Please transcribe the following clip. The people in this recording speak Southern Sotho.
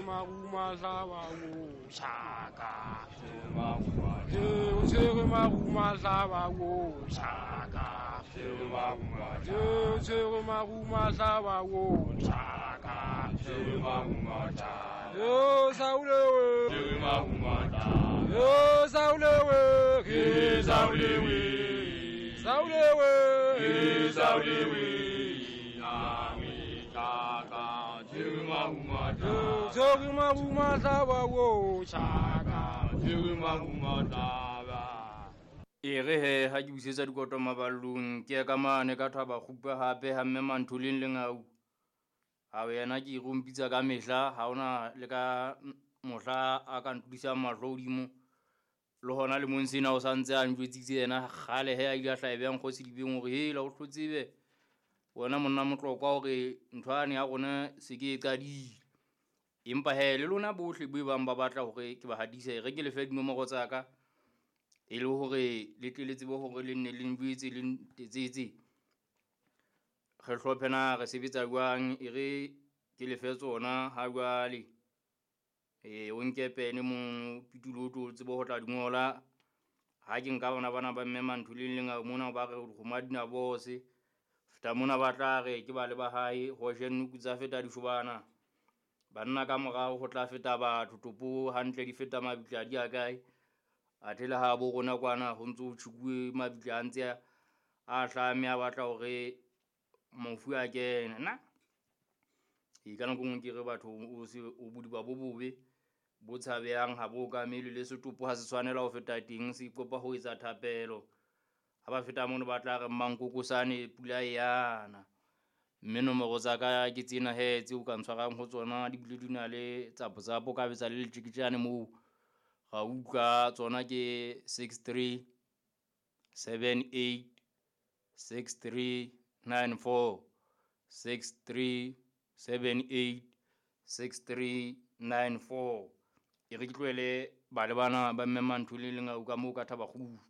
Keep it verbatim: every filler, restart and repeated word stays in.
Maruma hlaba wo shaka. O tshwere maruma hlaba wo shaka. O tshwere maruma hlaba wo shaka. Yo saulewe. Yo saulewe. Ke saulewe. Saulewe. Ke saulewe. Ami shaka. Tshwere maruma hlaba wo shaka. E re he ha ke busetsa dikoto maballong ke ya ka mane ka thaba kgupa hape ha mme Mantholeng Lengau. Ha yena ke rompitsa ka mehla ha ona le ka mohla a ka ntudisang mahlo hodimo. Le hona le mong sena o santse a njwetsitse yena kgale he a ile a hlaebeng kgosi dibeng hore hela o hlotsebe wena monna Motlokwa hore ntho yane ya rona se ke e qadile. Empa he le lona bohle bo bang ba batla hore ke ba hadise re ke lefe dinomoro tsa ka e le hore le tle le tsebe hore le nne le njwetse le ntetsetse. Re hlophe na re sebetsa jwang e re ke lefe tsona ha jwale. E o nke pene mo pitulo o tlo tsebe ho tla di ngola. Ha ke nka bona bana ba mme Mantholeng Lengau mona ba re dikgomo di na bose. Feta mona ba tla re ke ba le ba hae ho jenuku tsa feta dishobana. Banna ka morao ho tla feta batho topo hantle di feta mabitla di a kae. Athe le ha bo rona kwana ho ntso ho tjhukuwe mabitla a ntse a hlame a batla hore mofu a kene. Na e ka nako nngwe ke re batho o se o bodiba bo bobe bo tshabehang ha bo okamele le setopo ha se tshwanela ho feta teng se ikopa ho etsa thapelo. Ha ba feta mono ba tla re mmankokosane pula e yana. Mme nomoro tsa ka ke tsena he tseo ka ntshwarang ho tsona di bile di na le tsapo-tsapo ka betsa le letjeketjane moo. Ra utlwa tsona ke six three seven eight six three nine four six three seven eight six three nine four. E re ke tlohele ba le bana ba mme Mantholeng Lengau ka moo ka thaba kgupa.